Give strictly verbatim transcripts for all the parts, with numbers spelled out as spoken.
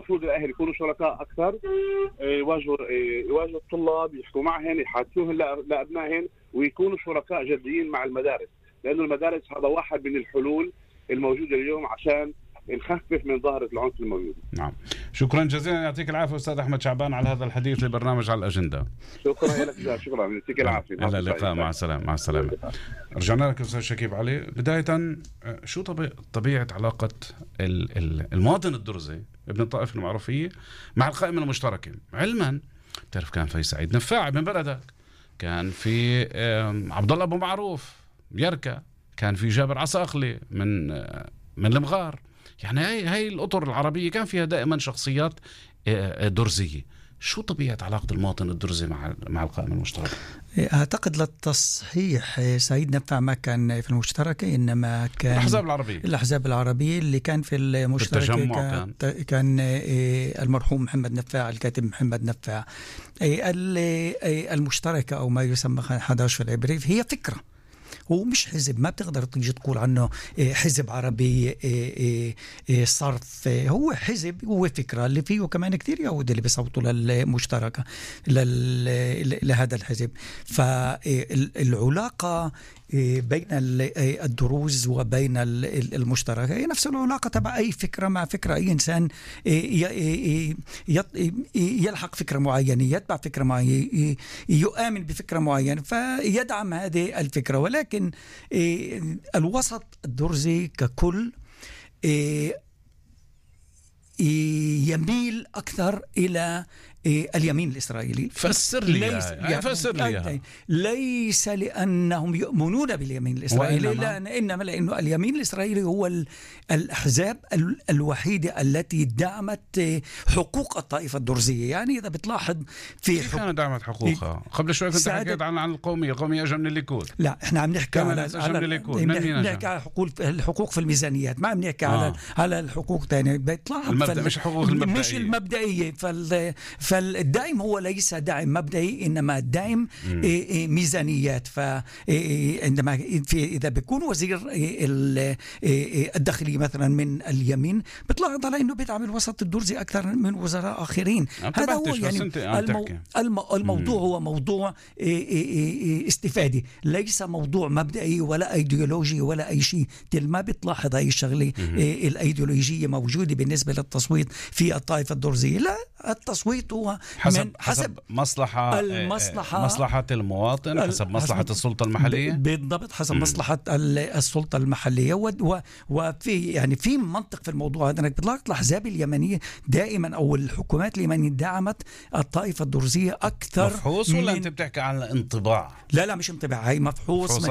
المفروض الاهل يكونوا شركاء اكثر، يواجهوا يواجهوا الطلاب، يحكوا معهم، يحاكوهم لابنائهم، ويكونوا شركاء جديين مع المدارس، لانه المدارس هذا واحد من الحلول الموجوده اليوم عشان نخفف من ظاهرة العنف الموجود. نعم، شكرا جزيلا، يعطيك العافية أستاذ أحمد شعبان على هذا الحديث لبرنامج على الأجندة. شكرا لك، شكرا، يعطيك العافية. إلى اللقاء، مع السلامة. مع السلامة. رجعنا لك أستاذ شكيب علي. بداية، شو طبيعة, طبيعة علاقة المواطن الدرزي ابن الطائف المعروفية مع القائمة المشتركة؟ علما بتعرف كان في سعيد نفاع من بلدك، كان في عبد الله أبو معروف يركا، كان في جابر عصاقلي من من المغار. يعني هاي هاي الأطر العربية كان فيها دائما شخصيات درزية. شو طبيعة علاقة المواطن الدرزي مع مع القائمة المشتركة؟ أعتقد للتصحيح سعيد نفع ما كان في المشتركة، إنما كان الأحزاب العربية الأحزاب العربية اللي كان في المشتركة كان, كان, كان المرحوم محمد نفاع، الكاتب محمد نفاع. المشتركة أو ما يسمى أحد عشر في العبري هي فكرة، هو مش حزب، ما بتقدر تيجي تقول عنه حزب عربي صرف، هو حزب، هو فكرة اللي فيه كمان كتير يهود اللي بيصوتوا للمشتركة لهذا الحزب. فالعلاقة بين الدروز وبين المشتركة هي نفس العلاقة تبع أي فكرة مع فكرة. أي إنسان يلحق فكرة معينة، يتبع فكرة معينة، يؤمن بفكرة معينة فيدعم هذه الفكرة. ولكن الوسط الدرزي ككل يميل أكثر إلى اليمين الإسرائيلي. فسر لي ليس, يعني فسر لي ليس لأنهم يؤمنون باليمين الإسرائيلي، لأن إنما لأنه اليمين الإسرائيلي هو الأحزاب الوحيدة التي دعمت حقوق الطائفة الدرزية. يعني إذا بتلاحظ في كيف كانت دعمت حقوقها؟ قبل شوي كنت حكيت عن عن القومية، القومية أجا من الليكود. لا، إحنا عم نحكي على نحكي على حقوق الحقوق في الميزانيات، ما عم نحكي آه. على على الحقوق تانية. بتلاحظ المبدأ مش حقوق المبدئية، مش المبدئية. فال فالدعم هو ليس دعم مبدئي، إنما دعم ميزانيات. فعندما في إذا بيكون وزير الداخلية مثلا من اليمين، بتلاحظ على إنه بيدعم الوسط الدرزي أكثر من وزراء آخرين. هذا هو يعني المو... المو... الموضوع هو موضوع استفادي، ليس موضوع مبدئي ولا أيديولوجي ولا أي شيء. تل ما بتلاحظ هاي الشغلة الأيديولوجية موجودة بالنسبة للتصويت في الطائفة الدرزية. لا، التصويت هو حسب, من حسب مصلحة المصلحة مصلحة المواطن، حسب مصلحة السلطة المحلية. بالضبط، حسب مصلحة السلطة المحلية. وفي يعني في منطق في الموضوع هذا، انك بتلاحظ الأحزاب اليمنية دائما أو الحكومات اليمنية دعمت الطائفة الدرزية أكثر. مفحوص ولا أنت بتحكي عن انطباع؟ لا لا، مش انطباع، هي مفحوص.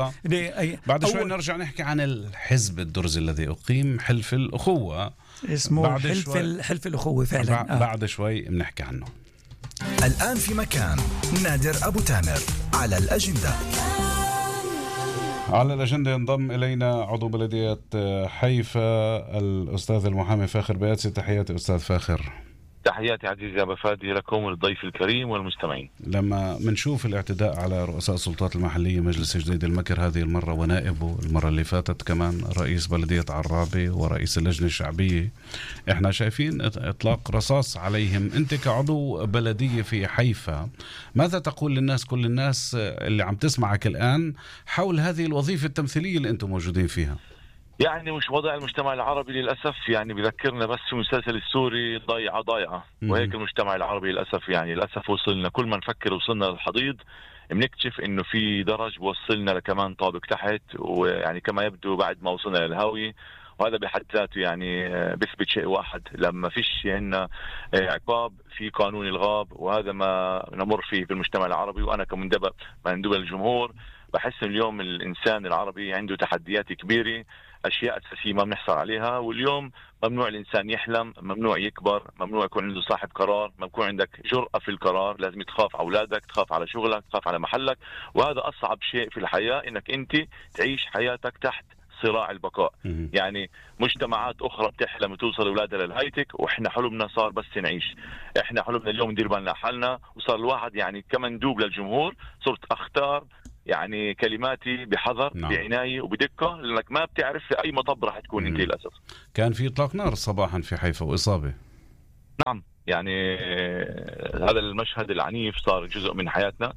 بعد شوي نرجع نحكي عن الحزب الدرزي الذي أقيم، حلف الأخوة، اسمه حلف حلف الأخوة فعلا. آه. بعد شوي بنحكي عنه. الآن في مكان نادر أبو تامر على الأجندة. على الأجندة ينضم إلينا عضو بلدية حيفا الأستاذ المحامي فاخر بياتسي. تحياتي أستاذ فاخر. تحياتي عزيزي أبا فادي لكم والضيف الكريم والمستمعين. لما منشوف الاعتداء على رؤساء السلطات المحلية، مجلس جديد المكر هذه المرة ونائبه، المرة اللي فاتت كمان رئيس بلدية عرابي ورئيس اللجنة الشعبية، احنا شايفين اطلاق رصاص عليهم. انت كعضو بلدية في حيفا، ماذا تقول للناس، كل الناس اللي عم تسمعك الآن، حول هذه الوظيفة التمثيلية اللي انتم موجودين فيها؟ يعني مش وضع المجتمع العربي للأسف يعني بذكرنا بس في المسلسل السوري ضيعة ضيعة، وهيك المجتمع العربي للأسف يعني للأسف وصلنا كل ما نفكر وصلنا للحضيض بنكتشف إنه في درج بوصلنا لكمان طابق تحت، ويعني كما يبدو بعد ما وصلنا للهاوية. وهذا بحد ذاته يعني بيثبت شيء واحد، لما فيش عندنا عقاب في قانون الغاب، وهذا ما نمر فيه في المجتمع العربي. وأنا كمندوب مندوب الجمهور بحس اليوم الإنسان العربي عنده تحديات كبيرة، أشياء أساسية ما بنحصل عليها. واليوم ممنوع الإنسان يحلم، ممنوع يكبر، ممنوع يكون عنده صاحب قرار، ممنوع يكون عندك جرأة في القرار. لازم تخاف على أولادك، تخاف على شغلك، تخاف على محلك. وهذا أصعب شيء في الحياة، إنك أنت تعيش حياتك تحت صراع البقاء. يعني مجتمعات أخرى بتحلم توصل أولادها للهايتك، وإحنا حلمنا صار بس نعيش. إحنا حلمنا اليوم ندير بالنا حالنا. وصار الواحد يعني كمندوب للجمهور صرت أختار يعني كلماتي بحذر، نعم. بعناية وبدقة، لأنك ما بتعرف في أي مطب راح تكون أنت للأسف. كان في إطلاق نار صباحا في حيفا وإصابة. نعم، يعني هذا المشهد العنيف صار جزء من حياتنا.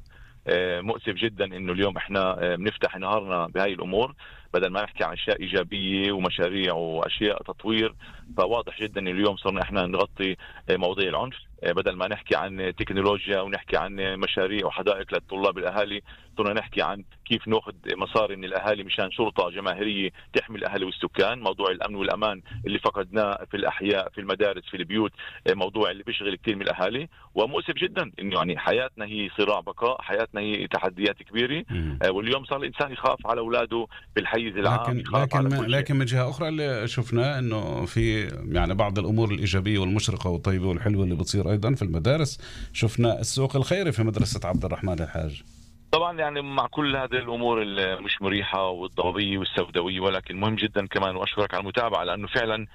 مؤسف جدا انه اليوم احنا بنفتح نهارنا بهاي الامور بدل ما نحكي عن اشياء ايجابيه ومشاريع واشياء تطوير. فواضح جدا انه اليوم صرنا احنا نغطي مواضيع العنف بدل ما نحكي عن تكنولوجيا ونحكي عن مشاريع وحدائق للطلاب الاهالي. صرنا نحكي عن كيف ناخذ مصاري من الاهالي مشان شرطه جماهيريه تحمي الاهالي والسكان. موضوع الامن والامان اللي فقدناه في الاحياء في المدارس في البيوت موضوع اللي بيشغل كثير من الاهالي. ومؤسف جدا انه يعني حياتنا هي صراع بقاء، حياتنا هي تحديات كبيره. واليوم صار الانسان يخاف على اولاده بالحيز العام. لكن لكن لكن من جهه اخرى اللي شفناه انه في يعني بعض الامور الايجابيه والمشرقه والطيبه والحلوه اللي بتصير ايضا في المدارس. شفنا السوق الخيري في مدرسه عبد الرحمن الحاج. طبعا يعني مع كل هذه الامور المش مريحه والضبابيه والسوداويه، ولكن مهم جدا كمان واشكرك على المتابعه لانه فعلا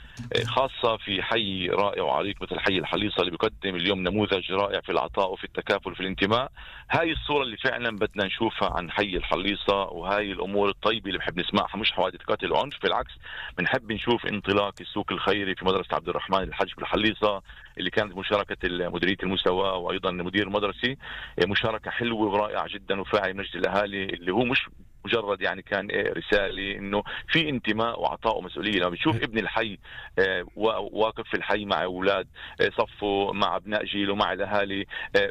خاصه في حي رائع وعريق مثل حي الحليصه اللي بيقدم اليوم نموذج رائع في العطاء وفي التكافل وفي الانتماء. هاي الصوره اللي فعلا بدنا نشوفها عن حي الحليصه، وهاي الامور الطيبه اللي بنحب نسمعها، مش حوادث قتل وعنف. بالعكس بنحب نشوف انطلاق السوق الخيري في مدرسه عبد الرحمن الحج بالحليصه اللي كانت مشاركه مديريه المستوى وايضا مدير المدرسه. مشاركه حلوه ورائعه جدا وفاعل مجلس الاهالي اللي هو مش مجرد يعني كان رسالة انه في انتماء وعطاء ومسؤولية. لما بتشوف ابن الحي واقف في الحي مع اولاد صفه مع ابناء جيله مع الاهالي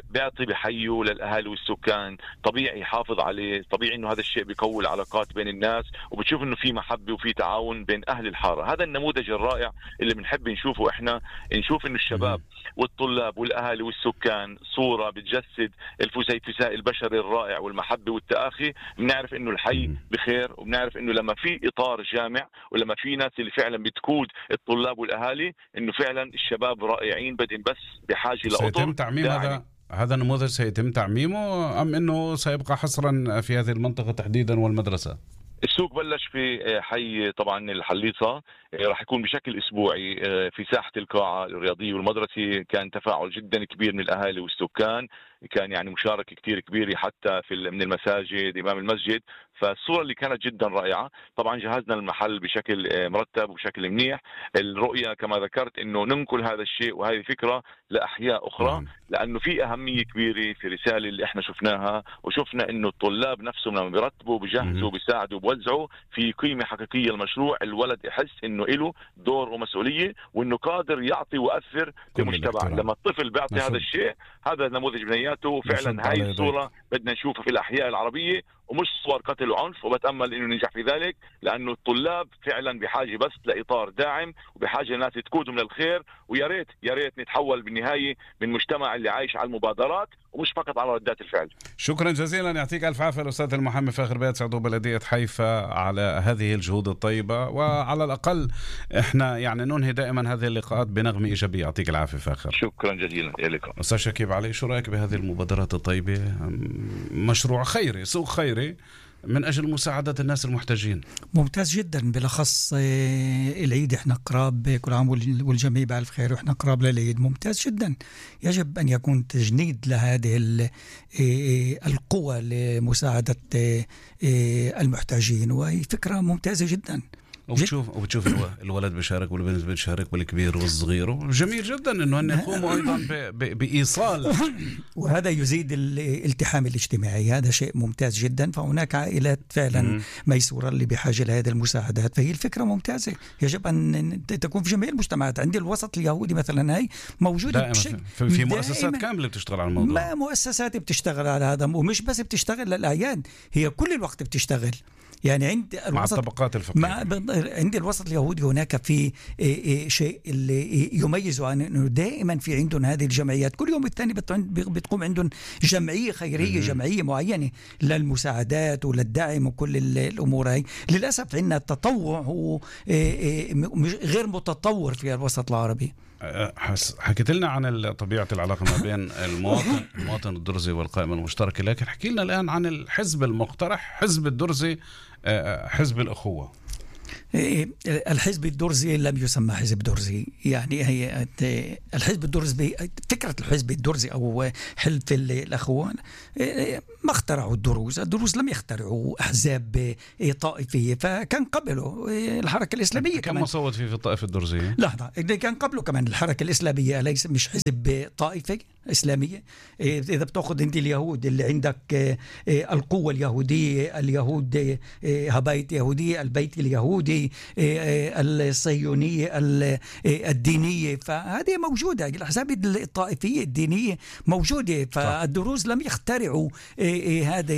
بيعطي بحيه للاهالي والسكان، طبيعي يحافظ عليه، طبيعي انه هذا الشيء بيقوي العلاقات بين الناس وبتشوف انه في محبة وفي تعاون بين اهل الحارة. هذا النموذج الرائع اللي بنحب نشوفه احنا، نشوف انه الشباب والطلاب والاهالي والسكان صورة بتجسد الفسيفساء البشري الرائع والمحبة والتآخي. بنعرف انه الحي بخير، وبنعرف انه لما في اطار جامع ولما في ناس اللي فعلا بتقود الطلاب والاهالي انه فعلا الشباب رائعين، بدهم بس بحاجه لاطر. سيتم تعميم هذا هذا النموذج سيتم تعميمه ام انه سيبقى حصرا في هذه المنطقه تحديدا والمدرسه؟ السوق بلش في حي طبعا الحليصة، راح يكون بشكل اسبوعي في ساحة القاعة الرياضية والمدرسة. كان تفاعل جدا كبير من الاهالي والسكان، كان يعني مشاركة كتير كبيرة حتى في من المساجد امام المسجد. فالصورة اللي كانت جدا رائعة. طبعا جهزنا المحل بشكل مرتب وبشكل منيح. الرؤية كما ذكرت انه ننقل هذا الشيء وهذه الفكرة لاحياء اخرى، لانه في اهمية كبيرة في رسالة اللي احنا شفناها، وشفنا انه الطلاب نفسهم لما بيرتبوا بيجهزوا بيساعدوا بيوزعوا في قيمة حقيقية للمشروع. الولد يحس انه له دور ومسؤولية وانه قادر يعطي وأثر في المجتمع. لما الطفل بيعطي هذا الشيء، هذا نموذج بنياته. فعلا هاي الصورة بدنا نشوفها في الأحياء العربية ومش صور قتل وعنف، وبتأمل انه ننجح في ذلك لانه الطلاب فعلا بحاجة بس لإطار داعم وبحاجة الناس تقودهم للخير. ويا ريت يا ريت نتحول بالنهاية من مجتمع اللي عايش على المبادرات ومش فقط على ردات الفعل. شكرا جزيلا، يعطيك الف عافية الأستاذ المحامي فاخر بيات عضو بلدية حيفا على هذه الجهود الطيبة. وعلى الأقل احنا يعني ننهي دائما هذه اللقاءات بنغمة إيجابية. يعطيك العافية فاخر. شكرا جزيلا لكم أستاذ شكيب علي. شو رأيك بهذه المبادرات الطيبة؟ مشروع خيري، سوق خيري من أجل مساعدة الناس المحتاجين. ممتاز جدا، بالأخص العيد احنا قراب، كل عام والجميع بألف خير واحنا قراب للعيد. ممتاز جدا، يجب أن يكون تجنيد لهذه القوة لمساعدة المحتاجين، وهي فكرة ممتازة جدا. وبتشوف وبتشوف الولد بيشارك والبنت بتشارك والكبير والصغير. جميل جدا انه هن يقوموا ايضا بايصال، وهذا يزيد الالتحام الاجتماعي. هذا شيء ممتاز جدا. فهناك عائلات فعلا ميسوره اللي بحاجه لهذه المساعدات، فهي الفكره ممتازه. يجب ان تكون في جميع المجتمعات. عندي الوسط اليهودي مثلا هي موجوده بشكل في, في مؤسسات كامله بتشتغل على الموضوع. ما مؤسسات بتشتغل على هذا، ومش بس بتشتغل للاعياد، هي كل الوقت بتشتغل. يعني عند مع الطبقات الفقيرة. عند الوسط اليهودي هناك في شيء اللي يميزه عن انه دائما في عندهم هذه الجمعيات. كل يوم الثاني بتقوم عندهم جمعية خيرية، جمعية معينة للمساعدات وللدعم وكل الأمور هاي. للأسف عندنا التطوع هو غير متطور في الوسط العربي. حكيت لنا عن طبيعة العلاقة ما بين المواطن المواطن الدرزي والقائمة المشتركة، لكن حكي لنا الآن عن الحزب المقترح، حزب الدرزي، حزب الأخوة. الحزب الدرزي لم يسمى حزب درزي، يعني هي الحزب الدرزي، فكرة الحزب الدرزي أو حلف الأخوان ما اخترعوا الدروز، الدروز لم يخترعوا أحزاب طائفية، فكان قبله الحركة الإسلامية. كم مصوت فيه في الطائفة الدرزية؟ لحظة، كان قبله كمان الحركة الإسلامية، ليس مش حزب طائفي إسلامية. إذا بتأخذ أنت اليهود اللي عندك القوة اليهودية، اليهود هبايت يهودية، البيت اليهودي، الصهيونية الدينية، فهذه موجودة. الأحزاب الطائفية الدينية موجودة، فالدروز لم يخترعوا هذا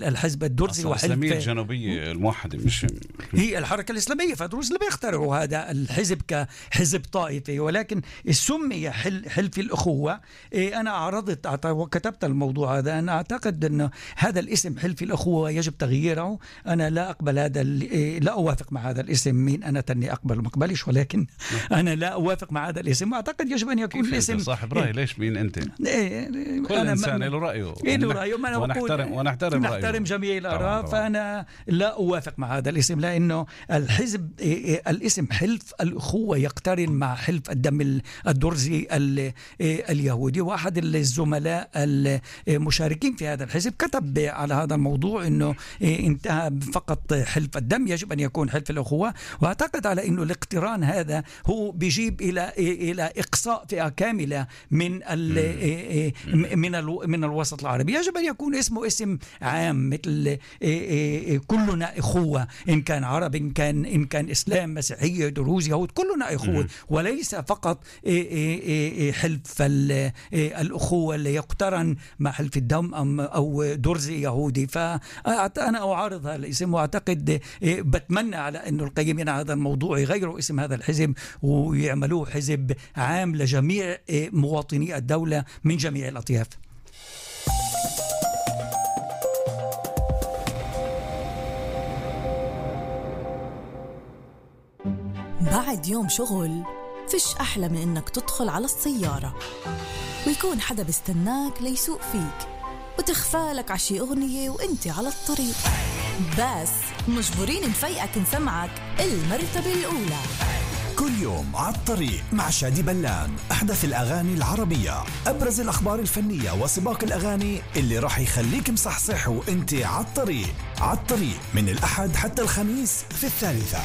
الحزب الدرزي. الإسلامية الجنوبية الموحدة مش هي الحركة الإسلامية، فالدروز لم يخترعوا هذا الحزب كحزب طائفي، ولكن سمي حلف الأخوة. أنا عرضت وكتبت الموضوع هذا، أنا أعتقد أن هذا الاسم حلف الأخوة يجب تغييره. أنا لا أقبل هذا، لا أوافق مع هذا الاسم. مين أنا تني أقبل وما أقبلش، ولكن أنا لا أوافق مع هذا الاسم، وأعتقد يجب أن يكون الاسم صاحب رأي. ليش مين أنت؟ كل إنسان له رأيه، له رأيه، ونحترم ونحترم رأيه، نحترم جميع الآراء. فأنا لا أوافق مع هذا الاسم، لأنه الحزب الاسم حلف الأخوة يقترن مع حلف الدم الدرزي اليهودي. واحد الزملاء المشاركين في هذا الحزب كتب على هذا الموضوع انه انتهى فقط حلف الدم، يجب ان يكون حلف الاخوه. واعتقد على انه الاقتران هذا هو بيجيب الى الى اقصاء فئه كامله من من من الوسط العربي. يجب ان يكون اسمه اسم عام، مثل كلنا اخوه، ان كان عرب، ان كان ان كان اسلام، مسيحيه، دروز، يهود، كلنا اخوه، وليس فقط حلف الأخوة اللي يقترن مع حلف الدم أو درزي يهودي. فأنا أعارض هذا الاسم، وأعتقد بتمنى على أنه القيمين على هذا الموضوع يغيروا اسم هذا الحزب ويعملوه حزب عام لجميع مواطني الدولة من جميع الأطياف. بعد يوم شغل فيش أحلى من إنك تدخل على السيارة ويكون حدا بيستناك ليسوق فيك وتخفالك عشي أغنية وإنت على الطريق، بس مجبورين نفيقك نسمعك المرتبة الأولى. كل يوم على الطريق مع شادي بلان، أحدث الأغاني العربية، أبرز الأخبار الفنية وسباق الأغاني اللي راح يخليك مصحصح وإنت على الطريق. على الطريق من الأحد حتى الخميس في الثالثة.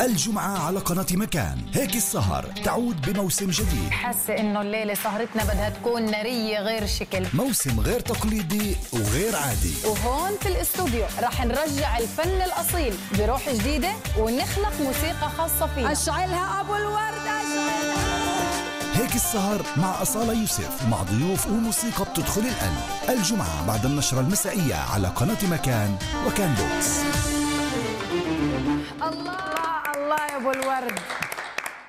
الجمعة على قناة مكان، هيك السهر تعود بموسم جديد. حاسة إنه الليلة سهرتنا بدها تكون نارية غير شكل، موسم غير تقليدي وغير عادي. وهون في الاستوديو رح نرجع الفن الأصيل بروح جديدة ونخلق موسيقى خاصة فينا. أشعلها أبو الورد، أشعلها. هيك السهر مع أصالة يوسف، مع ضيوف وموسيقى بتدخل القلب. الجمعة بعد النشرة المسائية على قناة مكان وكان بوكس. الله الله يا أبو الورد.